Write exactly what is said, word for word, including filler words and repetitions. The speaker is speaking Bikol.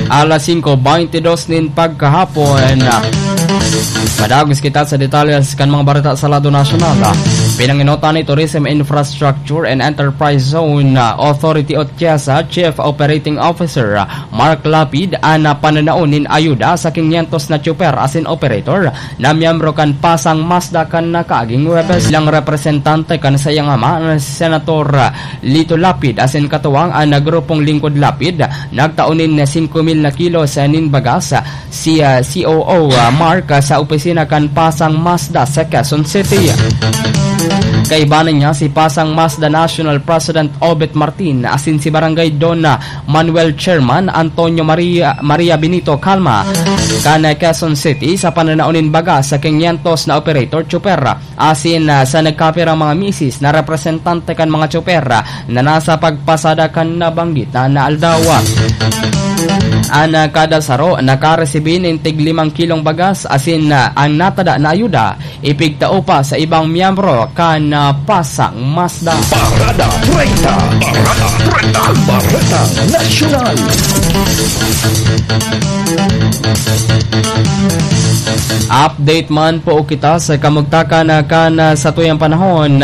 Alas singko beintidos nin pagkahapon. Madagos kita sa detalles kan mga bareta sa lado nasyonal. Pinangenotan ni Tourism Infrastructure and Enterprise Zone Authority o TIEZA Chief Operating Officer Mark Lapid an pananaon nin ayuda sa kinyentos na tsuper asin operator na miyembro kan Pasang Mazda kan nakaaging Huwebes. Bilang representante kan saiyang ama, Senator Lito Lapid, asin katuwang an grupong Lingkod Lapid, nagtao nin singko mil na kilos nin bagas si, ah, C O O, ah, Mark, ah, sa opisina kan Pasang Mazda sa Quezon City. Kaiba niya si Pasang Mazda National President Obet Martin asin si Barangay Don, ah, Manuel Chairman Antonio Maria, Maria Benito Calma kan Quezon City sa pananaon nin bagas sa kinyentos na operator tsuper. Asin, ah, sa nagkapirang mga misis na representante kan mga tsoper, ah, na nasa pagpasada kan nabanggit na, na aldaw. An, ah, kada saro nakaresibi nin tig limang kilong bagas asin, ah, ang natada na ayuda ipigtao pa sa ibang miyembro kan, ah, Pasang Mazda. Parada treinta. Parada treinta. Parada Nasyonal. Update man po kita sa kamugtakan na kan, ah, sa tuyang panahon.